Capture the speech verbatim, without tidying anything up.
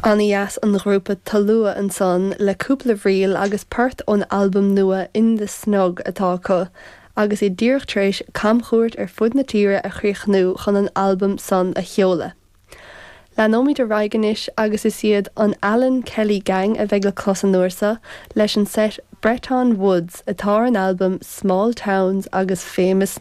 An-dheas an grúpa Tolua ansan le cúpla ríl agus port ón albam nua In the Snug atá acu, agus iad díreach tar éis camchuairt ar fud na tíre a chríochnú chun an albam san a sheoladh. Leanfaimid ar aghaidh anois agus is iad an Alan Kelly Gang a bheidh le clos an uair seo leis an set Breton Woods atá ar an albam Small Towns agus Famous